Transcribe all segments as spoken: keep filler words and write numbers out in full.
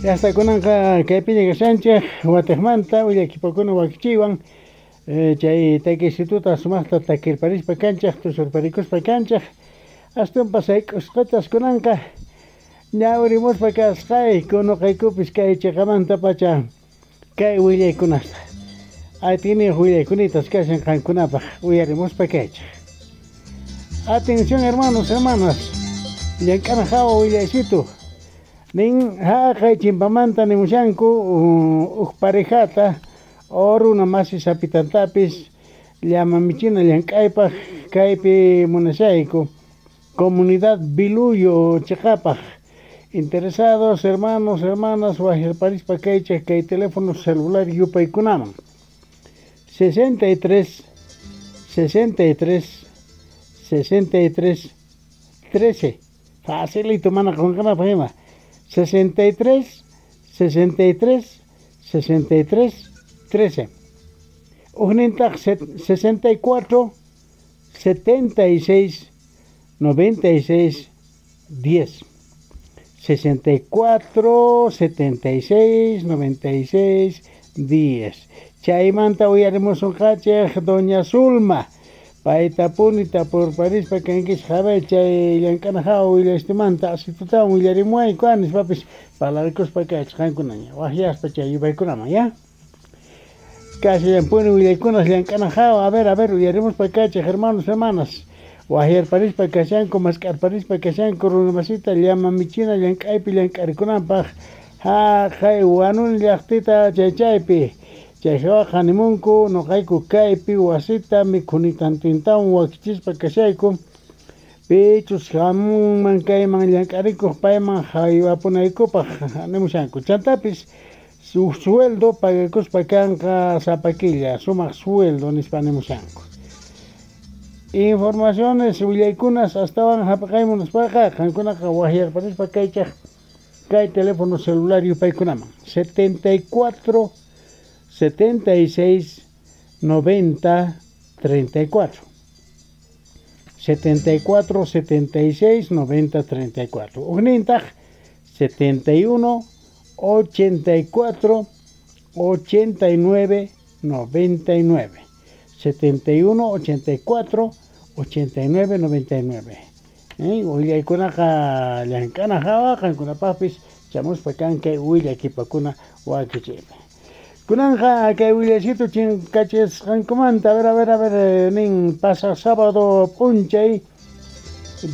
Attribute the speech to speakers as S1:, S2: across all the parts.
S1: Hasta kunanqa kaypiña kashanchik watiqmanta willakipakuna wakichiywan eh, chay takisituta sumaqta takirparispa kanchik tusurparikuspa kanchik astunpas sayk'usqatas kunanqa ñawirimuspa kasqayku nuqaykupis kay chiqamantapacha kay willaykunasta atiyniyuq willaykunita kashan qankunapaq uyarimuspa kaychik. Atención, hermanos, hermanas, llank'ana hawa willaysitu nin haqay chimpamanta nimushanku huk parejata o runa masi sapitantapis llama michina llank'aypaq kaypi munashayku comunidad Biluyo chiqapaq. Interesados, hermanos, hermanas, waqyarparispa kaychik kay teléfono celular yupaykunaman sesenta y tres sesenta y tres sesenta y tres trece. Facilito, mana qunqanapaq ima, sesenta y tres sesenta y tres sesenta y tres trece. Huknintaq sesenta y cuatro setenta y seis noventa y seis diez, sesenta y cuatro setenta y seis noventa y seis diez. Chaymanta uyarimusunqachik doña Zulma, paytapuni tapurparispa kankichik a chay llank'ana hawa willastimanta asitutawan willarimuwayku nispapis parlarikuspa kaychik qankunaña waqyaspa chay yupaykunaman ya kashallanpuni willaykunas llank'ana hawa. A ver, a ver, uyarimuspa kaychik, hermanos, hermanas, waqyarparispa kashanku, mask'arparispa kashanku runa masita llama michina llank'aypi llank'arikunanpaq haqay Wanuni llaqtita chay chaypi. Chay hawaqa nimunku nuqayku kaypi wasita mikhunitantintawan wakichispa kashayku, pichus hamunman kayman llank'arikuq payman haywapunaykupaq nimushanku. Chantapis su sueldo pagakuspa kanqa sapa killa, sumaq sueldo nispa nimushanku. Informaciones willaykunas astawan hap'aqaymunaspaqa qankunaqa waqyarparispa kaychaq kay teléfono celular yupaykunaman setenta y cuatro setenta y seis noventa treinta y cuatro, setenta y cuatro setenta y seis noventa treinta y cuatro. Huknintaq setenta y uno ochenta y cuatro ochenta y nueve noventa y nueve, setenta y uno ochenta y cuatro ochenta y nueve noventa y nueve. Eh, willaykunaqa llank'ana hawa qankunapaqpis chamuspa kan kay willakipakuna wakichiypi. Kunanqa kay willaysitu chinkachisqankumanta. A ver, a ver, a ver, nin pasaq sábado p'unchay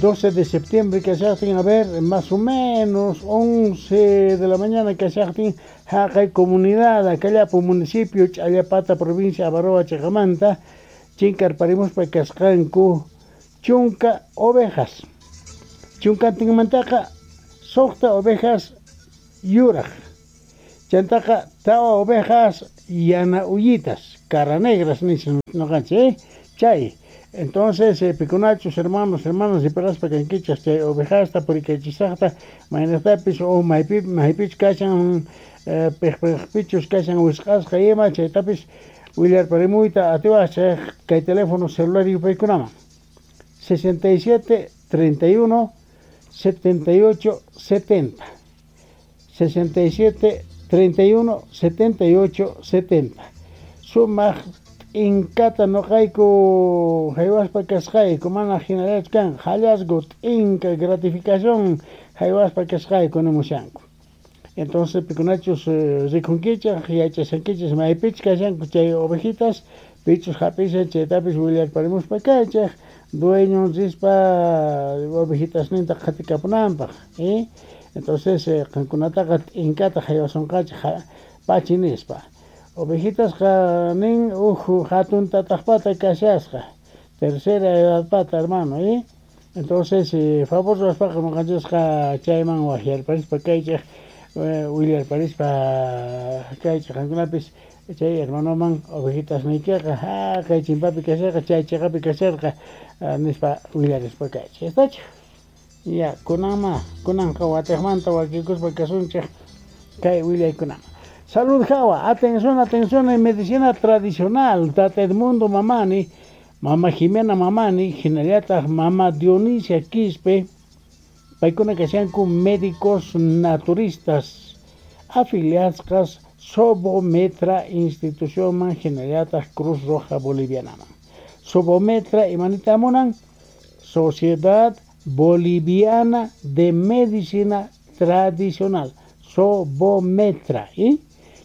S1: doce de septiembre kashaqtin, a ver, más o menos once de la mañana kashaqtin, haqay comunidad Akallapu municipio Ch'allapata provincia Abaroa chiqamanta chinkarparimuspa kasqanku chunka ovejas. Chunkantinmantaqa suqta ovejas yuraq, chantaqa tawa ovejas yana uyitas, cara negras nichin nuqanchik, eh? Chay entonces eh, pikunachus hermanos, hermanas riparaspa kankichik chay ovejasta purikachisaqta maynaqtapis o maypi maypichus kashan, eh, piqpiqpichus kashan wisq'asqa ima chaytapis willarparimuyta atiwaqchik kay teléfono celular yupaykunaman sesenta y siete treinta y uno setenta y ocho setenta, sesenta y siete treinta y uno setenta y ocho setenta. Sumaq t'inkata nuqayku haywaspa kasqayku, mana hinallachu kan hallazgo, t'inka, gratificación haywaspa kasqayku nimushanku. Entonces pikunachus eh, rikunkichik, yachashankichik maypichus kashanku chay ovejitas, pichus hap'ishan chaytapis willarparimuspa kaychik dueño rispa ovejitasninta qhatikapunanpaq, eh? Entonces eh, qankunataqa t'inkata haywasunqachik pachi nispa. Ovejitasqa nin huk hatun tataqpata kashasqa, tercera edadpata, hermano, eh? Entonces eh, favor ruwaspaqa nuqanchisqa chayman waqyarparispa kaychik, eh, willarparispa kaychik qankunapis chay hermanoman ovejitasniykiqa haqay chimpapi kasharqa, chay chiqapi kasharqa nispa willarispa kaychik. Estachu ya kunanma kunanqa watiqmanta wakikuspa kasunchik kay willaykunaman. Salud hawa, atención, atención, en medicina tradicional, Tata Edmundo Mamani, Mama Jimena Mamani, hinallataq Mama Dionisia Quispe, paykuna kashanku médicos naturistas. Afiliasqas Sobometra institucionman hinallataq Cruz Roja Bolivianaman. Sobometra imanita munan? Sociedad Boliviana de Medicina Tradicional. Sobometra. ¿Y?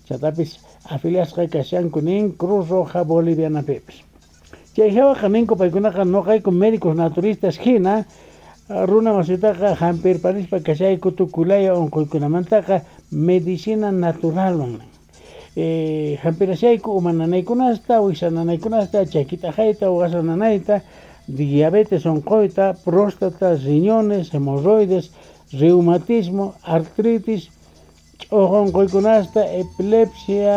S1: Chantapis afiliasqa kashanku nin Cruz Roja Boliviana pipis. Chay hawaqa ninku paykunaqa nuqayku médicos naturistas hina runa masitaqa hampirparispa kashayku tukuylaya unquykunamantaqa medicina naturalwan. Eh, hampirashayku uma nanaykunasta, wiksa nanaykunasta, chaki t'aqayta, wasa nanayta, diabetes unquyta, próstata, riñones, hemorroides, reumatismo, artritis, ch'uqu unquykunasta, epilepsia,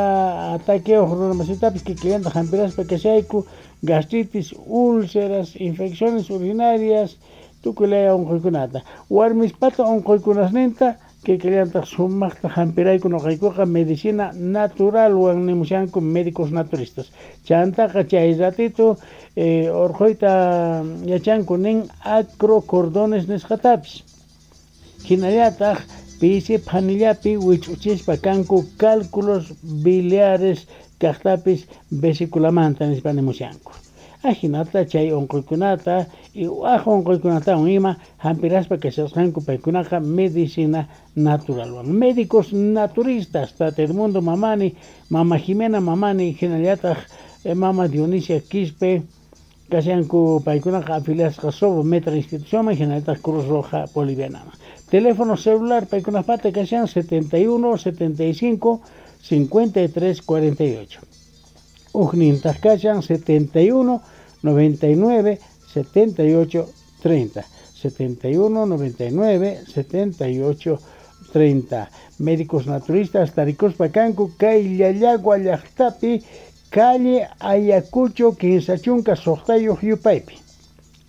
S1: ataqueo runa masitapis kikillanta hampiraspa kashayku, gastritis, úlceras, infecciones urinarias, tukuylaya unquykunata. Warmispata unquykunasninta kikillantaq sumaqta hampirayku nuqaykuqa medicina naturalwan nimushanku médicos naturistas. Chantaqa chay ratito eh, urquyta yachanku nin acrocordones nisqatapis. Hinallataq pisi phanillapi wich'uchispa kanku cálculos biliares kaqtapis vesiculamanta nispa nimushanku. Ajinata chay unquykunata y waj unquykunatawan ima hampiraspa kashasqanku paykunaqa medicina naturalwan. Médicos naturistas, Tata Edmundo Mamani, Mama Jimena Mamani, hinallataq Mama Dionisia Quispe, kashanku paykunaqa afiliasqa Sobometra institucionman hinallataq Cruz Roja Bolivianaman. Teléfono celular paykunapata kashan setenta y uno, setenta y cinco, cincuenta y tres, cuarenta y ocho. Ujnintaq kashan setenta y uno, noventa y nueve, setenta y ocho, treinta. setenta y uno, noventa y nueve, setenta y ocho, treinta. Médicos naturistas tarikuspa kanku kay Llallagua llaqtapi, calle Ayacucho, kinsa chunka suqtayuq yupaypi.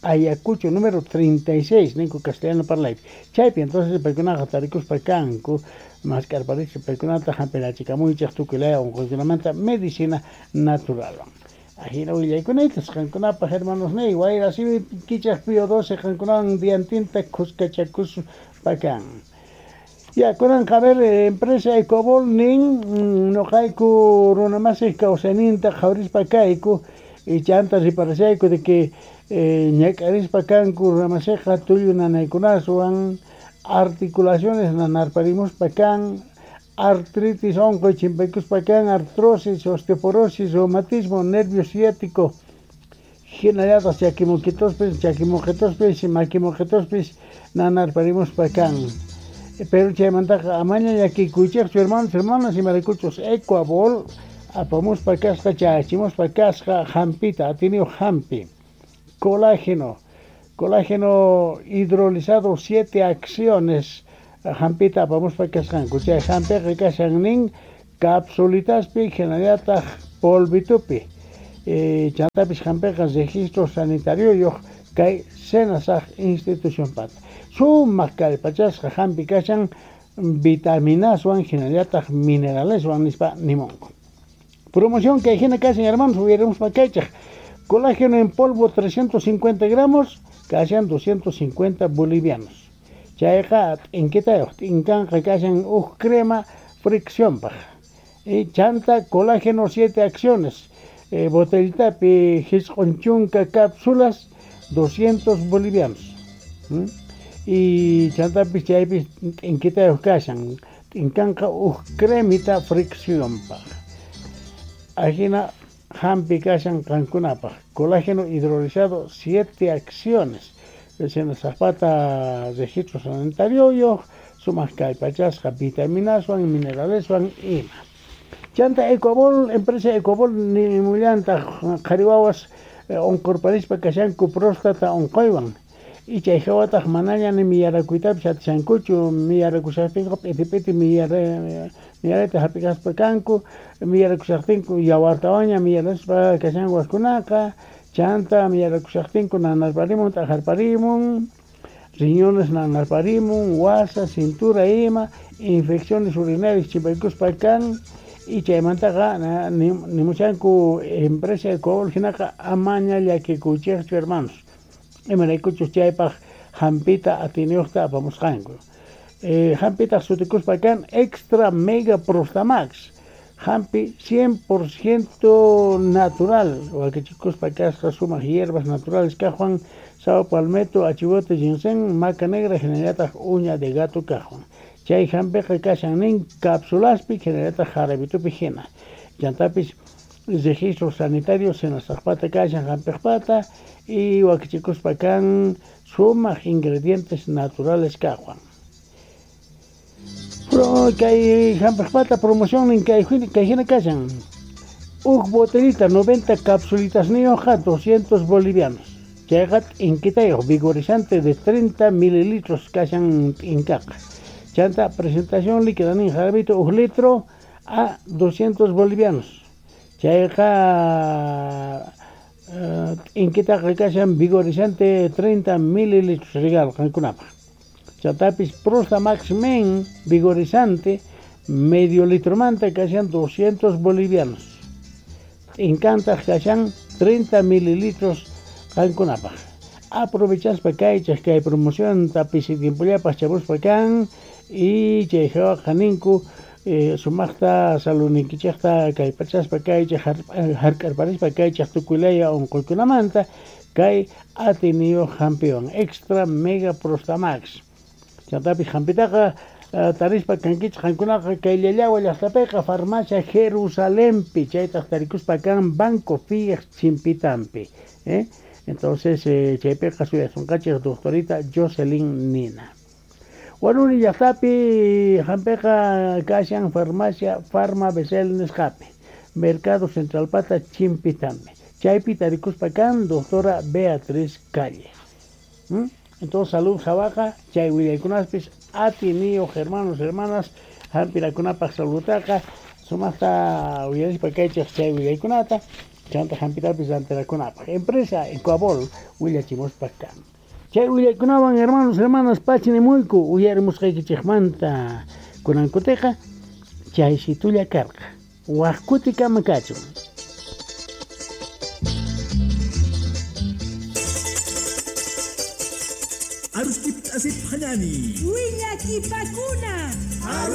S1: Ayacucho número treinta y seis, ninku castellano parlaypi. Chaypi entonces paykunaqa tarikuspa kanku, maskarparichik paykunata hampirachikamuychik tukuylaya unquykunamanta medicina naturalwan. Ajina willaykunaytas qankunapaq hermanos niy, wayra simi kichaq Pío doce qankunawan diantinta khuskachakuspa kan. Ya, kunanqa a ver, empresa Ecobol nin nuqayku runamasiq kawsayninta qhawarispa kayku y chanta riparashayku de que eh, ñak'arispa kanku runamasiqqa tullu nanaykunaswan, articulaciones nanarparimuspa kan, artritis unquy chimpaykuspa kan, artrosis, osteoporosis, reumatismo, nervio ciático, hinallataq chakimuquitospis, chakimuqitospis, makimuqitospis nanarparimuspa kan. Pero chaymantaqa amaña llakikuychikchu hermanos, hermanas, imaraykuchus Ecuabol apamuspa kasqa, chayachimuspa kasqa hampita, atiniyuq hampi, colágeno, colágeno hidrolizado siete acciones hampita apamuspa kasqanku. Chay hampiqa kashan nin capsulitaspi hinallataq polvitupi. Eh, chantapis hampiqa registro sanitario kay SENASAG institución pata. Sumaq kallpachasqa hampi kashan vitaminaswan hinallataq mineraleswan nispa nimunku. Promoción kay hina kashan hermanos, uyarimuspa kaychaq. Colágeno en polvo trescientos cincuenta gramos, kashan doscientos cincuenta bolivianos. Chayqa t'inkitayuq, t'inkanqa kashan uj crema friccionpaq. Y chanta colágeno siete acciones, eh, botellitapi hisq'un chunka cápsulas, doscientos bolivianos. ¿Mm? Y chantapis chaypis t'inkitayuq kashan, t'inkanqa uj cremita friccionpaq. Ajina hampi kashan qankunapaq. Colágeno hidrolizado siete acciones. Senasaqpata registro sanitario sumaq kallpachasqa vitaminaswan, mineraleswan ima. Chanta Ecobol, empresa Ecobol nimullantaq qhari wawas unqurparispa kashanku próstata unquywan. Y chay hawataq manaña ni miyarakuytapis atishankuchu, miyarakushaqtinku p'iti p'iti miyarayta hap'ikaspa kanku, miyarakushaqtinku yawartawanña miyaraspa kashanku wajkunaqa, chanta miyarakushaqtinku nanarparimun, t'ajarparimun, riñones nanarparimun, wasa, cintura ima, infecciones urinarias chimpaykuspa kan, y chaymantaqa nimushanku empresa Ecobol hinaqa amaña llakikuychikchu hermanos. Imaraykuchus chaypaq hampita atiniyuqta apamusqanku. Eh, hampitaq sutikuspa kan Extra Mega Prostamax. Hampi cien por ciento natural, wakichikuspa kasqa sumaq hierbas naturales kaqwan, sao palmetto, achivote, ginseng, maca negra, hinallataq uña de gato kaqwan. Chay hampiqa kashan nin cápsulaspi, hinallataq jarabitupi hina. Chantapis registro sanitario senasaqpata kashan hampiqpata y wakichikuspa kan sumaq ingredientes naturales kaqwan. Pro, kay hampiqpata promoción nin kay kay hina kashan. Uj botellita noventa capsulitas niyuqqa doscientos bolivianos. Chayqa t'inkitayuq vigorizante de treinta mililitros kashan t'inkaqa. Chanta presentación líquida nin jarabito uj litro a doscientos bolivianos. Chayqa t'inkitaqa kashan vigorizante treinta mililitros regalo qankunapaq. Chantapis Prostamax Men vigorizante medio litromanta kashan doscientos bolivianos. T'inkantaq kashan treinta mililitros qankunapaq. Aprovechaspa kaychaq kay promoción pisi tiempollapaq chamuspa kan y chay hawaqa ninku eh, sumaqta saludninkichaqta kaypachaspa kaychaq hark'arparispa kaychaq tukuylaya unquykunamanta kay atiniyuq hampiwan Extra Mega Prostamax. Chantapis hampitaqa uh, tarispa kankichaq qankunaqa kay Llallawa llaqtapiqa farmacia Jerusalempi chaytaq tarikuspa kan Banco Fies chimpitampi. ¿eh? Entonces eh, chaypiqa suyasunqachik doctorita Jocelyn Nina. Huanuni llaqtapi hampiqa kashan farmacia Farma Besel nisqapi Mercado Centralpata chimpitampi. Chaypi tarikuspa kan doctora Beatriz Calle. ¿Mm? Entonces, salud jabaja, chay willaykunaspis, atiniyuq hermanos, hermanas, hampirakunapaq salutaqa, sumaqta uyarispa kaychaq chay willaykunata, chanta hampitapis rantirakunapaq. Empresa Ecuabol willachimuspa kan. Chay willaykunawan hermanos, hermanas, pachinimuyku uyarimusqaykichikmanta kunankutiqa chaysitulla karqa. Waq kutikama kachun.
S2: Arustip asip hanani.
S3: Willakipakuna.